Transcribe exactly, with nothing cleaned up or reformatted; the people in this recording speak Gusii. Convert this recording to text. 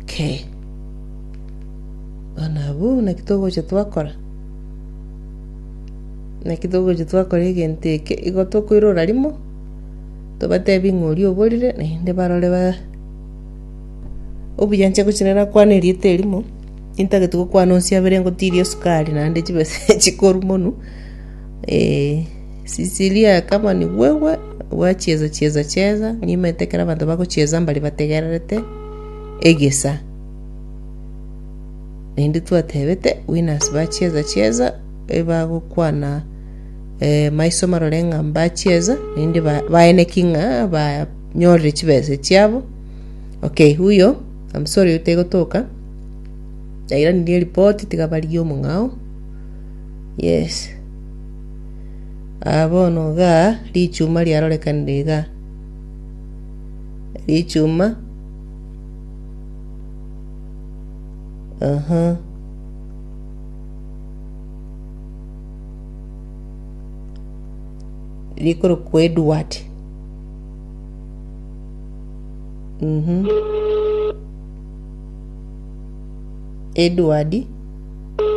Okay. Bono abwo naki togocha twakora? Naki togocha twakora egento eke, igo tokoirora rimo, tobatebi ng'a oria oborire, naende barore ba obuya inche gochia narakwane erieta erimo, nintagete gokwana onsi abere ngotirie esukari naende chibesa chikorwa monwe, Sisilia kama ni wewe gwacheza cheza cheza, nimanyete ekero abanto bagocheza mbari bategererete egesa. Naende twatebete winners bacheza cheza ebagokwana maiso marore ng'a mbacheza naende ba- baeneki ng'a banyorire chibesa chiabo. Okay, huyo I'm sorry oyo tegotoka, nairanirie eripoti tiga barigie omong'ao, yes. Aa bono igaa richuma riarorekanire igaa, richuma aha. Rikorokwa Edward. Mhm. Edward.